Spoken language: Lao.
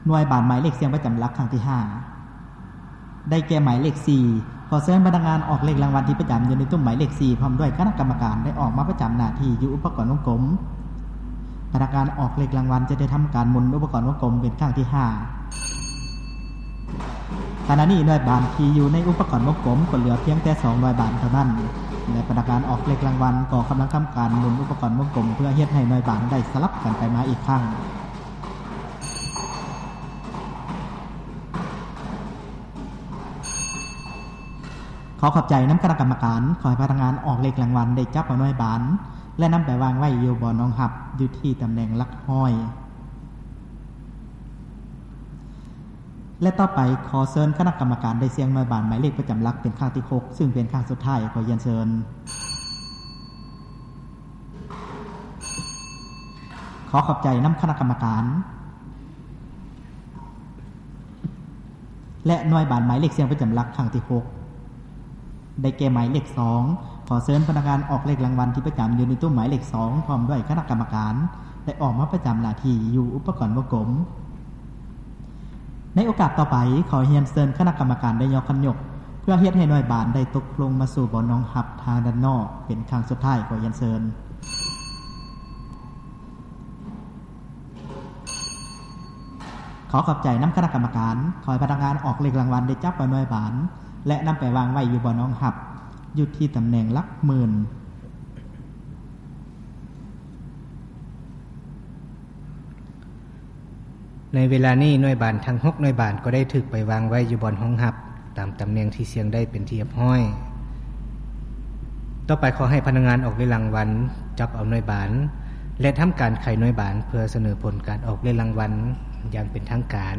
ໜ່ວຍບານໝາຍເລກສ່ຽງປະຈຳຫຼັກຄັ້ງທີຫ້າ ໄດ້ແກ່ໝາຍເລກສີ່. ຂໍເຊີນພະນັກງານອອກເລກລາງວັນທີ່ປະຈຳຢູ່ໃນຕຸ້ມໝາຍເລກສີ່ ພ້ອມດ້ວຍຄະນະກຳມະການ ໄດ້ອອກມາປະຈຳໜ້າທີ່ຢູ່ອຸປະກອນວົງກົມ. ພະນັກງານອອກເລກລາງວັນຈະໄດ້ທຳການໝູນອຸປະກອນວົງກົມເປັນຄັ້ງທີຫ້າ. ຂະນະນີ້ໜ່ວຍບານທີ່ຢູ່ໃນອຸປະກອນວົງກົມກໍເຫຼືອພຽງແຕ່ສອງໜ່ວຍບານເທົ່ານັ້ນ ແລະ ພະນັກງານອອກເລກລາງວັນກໍກຳລັງທຳການໝູນອຸປະກອນວົງກົມ ເພື່ອເຮັດໃຫ້ໜ່ວຍບານໄດ້ສະຫຼັບກັນໄປມາອີກຄັ້ງ. ຂໍຂອບໃຈນຳຄະນະກຳມະການ. ຂໍໃຫ້ພະນັກງານອອກເລກລາງວັນໄດ້ຈັບເອົາໜ່ວຍບານ ແລະ ນຳໄປວາງໄວ້ຢູ່ບ່ອນຮອງຮັບ ຢູ່ທີ່ຕຳແໜ່ງຫຼັກຮ້ອຍ. ແລະ ຕໍ່ໄປ ຂໍເຊີນຄະນະກຳມະການໄດ້ສ່ຽງໜ່ວຍບານໝາຍເລກປະຈຳຫຼັກເປັນຄັ້ງທີຫົກ ຊຶ່ງເປັນຄັ້ງສຸດທ້າຍ. ຂໍຮຽນເຊີນ. ຂໍຂອບໃຈນຳຄະນະກຳມະການ. ແລະ ໜ່ວຍບານໝາຍເລກສ່ຽງປະຈຳຫຼັກຄັ້ງທີຫົກ ໄດ້ແກ່ໝາຍເລກສອງ. ຂໍເຊີນພະນັກງານອອກເລກລາງວັນທີ່ປະຈຳຢູ່ໃນຕູ້ໝາຍເລກສອງ ພ້ອມດ້ວຍຄະນະກຳມະການ ໄດ້ອອກມາປະຈຳໜ້າທີ່ຢູ່ອຸປະກອນວົງກົມ. ໃນໂອກາດຕໍ່ໄປ, ຂໍຮຽນເຊີນຄະນະກຳມະການໄດ້ຍໍຄັນຍົກ ເພື່ອເຮັດໃຫ້ໜ່ວຍບານໄດ້ຕົກລົງມາສູ່ບ່ອນຮອງຮັບທາງດ້ານນອກເປັນຄັ້ງສຸດທ້າຍ. ຂໍຮຽນເຊີນ. ຂໍຂອບໃຈນຳຄະນະກຳມະການ. ຂໍໃຫ້ພະນັກງານອອກເລກລາງວັນໄດ້ຈັບເອົາໜ່ວຍບານ ແລະ ນຳໄປວາງໄວ້ຢູ່ບ່ອນຮອງຮັບ ຢູ່ທີ່ຕຳແໜ່ງຫຼັກໝື່ນ. ໃນເວລານີ້ໜ່ວຍບານທັງຫົກໜ່ວຍບານກໍໄດ້ຖືກໄປວາງໄວ້ຢູ່ບ່ອນຮອງຮັບ ຕາມຕຳແໜ່ງທີ່ສ່ຽງໄດ້ເປັນທີ່ຮຽບຮ້ອຍ. ຕໍ່ໄປຂໍໃຫ້ພະນັກງານອອກເລກລາງວັນຈັບເອົາໜ່ວຍບານ ແລະ ທຳການໄຂໜ່ວຍບານ ເພື່ອສະເໜີຜົນການອອກເລກລາງວັນຢ່າງເປັນທາງການ.